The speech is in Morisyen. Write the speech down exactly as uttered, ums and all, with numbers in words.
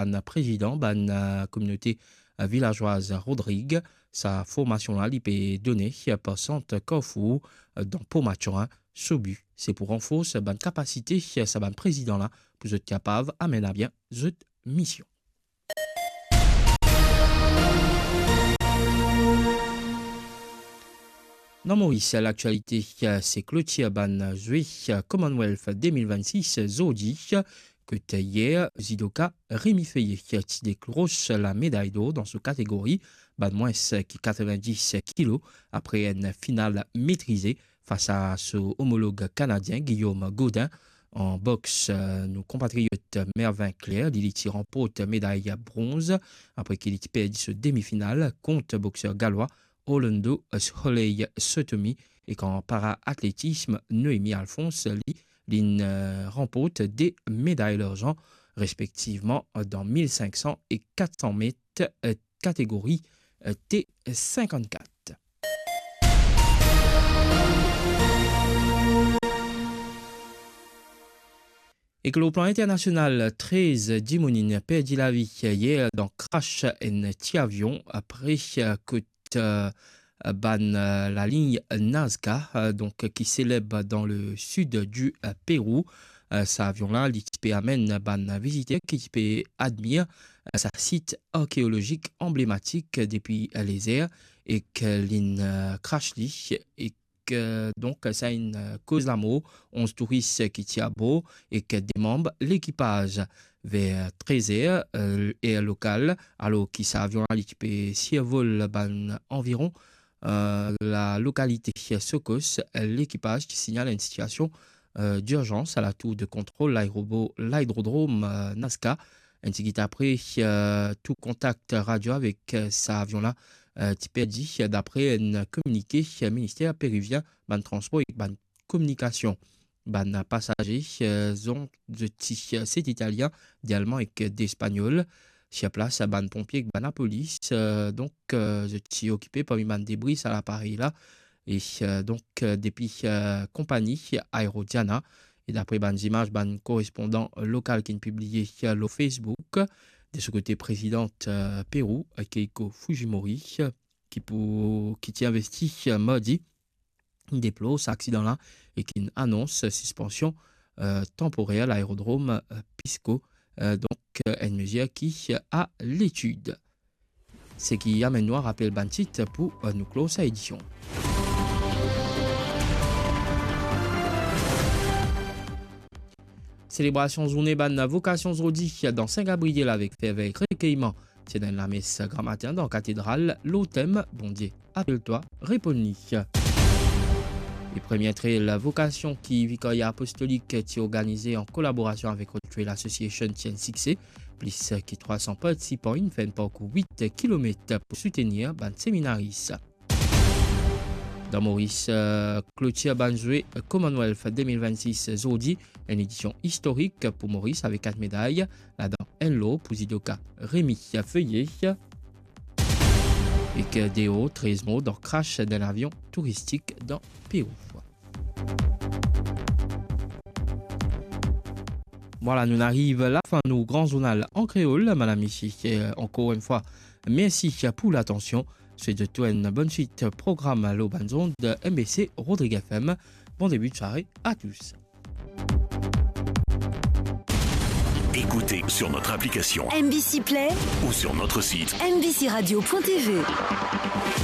bann prezidan bann, eh, kominote, eh, vilazwaz Rodrig. Sa formasion la, li pe done, eh, par sant Carrefour, eh, dan Port Mathurin. So bi, se pou ranfors bann kapasite, eh, sa bann prezidan la, pou zot kapav amenn abien zot mision. Dan Moris, laktialite, se klotir bann zwe Commonwealth de mil vennsis zordi, kot yer, zidoka Rémi Feuillé ti dekros lameday dor dan so kategori bann mwins ki katrevin-dis kilo, apre enn final metrize fas a so omolog kanadien Guillaume Gaudin. An boks, eh, nou konpatriot Mervin Claire, li, li ti ranport meday bronz apre ki li ti perdi so demi-final kont bokser galwa Orlando Soleil Sotomi, ek an para-atletism, Noémie Alphonse, li, linn, eh, ranport de meday larzan, respektivman dan mil sink san e kat san met, eh, kategori, eh, T sinkannkat. Ek lor plan internasional, trez dimoun inn perdi lavi yer dan krash enn ti avion apre kot, eh, bann, eh, lalign Nazca, eh, donk ki seleb dan le sid di, eh, Perou. Eh, sa avion la, li ti pe amenn bann viziter ki ti pe admir, eh, sa sit arkeolozik anblematik depi, eh, lezer, ek linn, eh, krash li, ek, eh, donk sa inn, eh, koz lamor onz touris ki ti abor ek de manm lekipaz. Ver trez er, eh, er lokal, alor ki sa avion la, li ti pe sirvol bann anviron, eh, lalokalite Socos, eh, lekipaz ti signal enn sitiasion, eh, dirzans a latour de kontrol laeropor, laerodrom, eh, Nazca. Enn tigit apre, eh, tou kontak radio avek, eh, sa avion la, eh, ti perdi, eh, dapre enn kominike, eh, minister perivien bann transpor ek bann kominikasion. Bann pasaze, eh, zot, zot ti, eh, set Italien, de Alman ek de Espanyol. Sir plas, bann ponpie ek bann lapolis, eh, donk, eh, zot ti okipe parmi bann debri sa laparey la. E, eh, donk, eh, depi, eh, konpani Aerodiana, e dapre bann zimaz bann korespondan lokal ki'nn pibliye, eh, lor Facebook, de so kote, prezidan, eh, Perou, eh, Keiko Fujimori, eh, ki pou, ki ti investi, eh, mardi, deplor sa aksidan la e ki'nn anons sispansion, eh, tanporer laerodrom, eh, Pisco, eh, donk, eh, enn mezir ki a letid. Seki amenn nou a rapel bann tit pou, eh, nou klor sa edision. Selebrasion zourne bann vokasion zordi dan Sin Gabriel avek fervey ek rekeyman. Ti ena enn lames gramatin dan katedral lor tem Bondie apel twa, reponn li. E premie trail vokasion ki Vikarya Apostolik ti organize an kolaborasion avek Road Trail Association ti enn sikse. Plis ki trwa san partisipan inn fer enn parkour wit kilomet pou soutenir bann seminaris. Dan Moris, eh, klotir bann zwe Commonwealth de mil vennsis zordi, enn edision istorik pou Moris avek kat meday, ladan enn lor pou zidoka Rémi Feuillé, ek de or, trez mor dan krash dan lavion touristik dan Perou. Vwala, nou ariv lafin nou gran zournal an kreol. Madam, misie, eh, ankor enn fwa, mersi pou latansion. Swet zot tou enn bonn swit program lor bann zond M B C Rodrig F M. Bon début de soirée à tous. Écoutez sur notre application M B C Play ou sur notre site M B C radio point T V.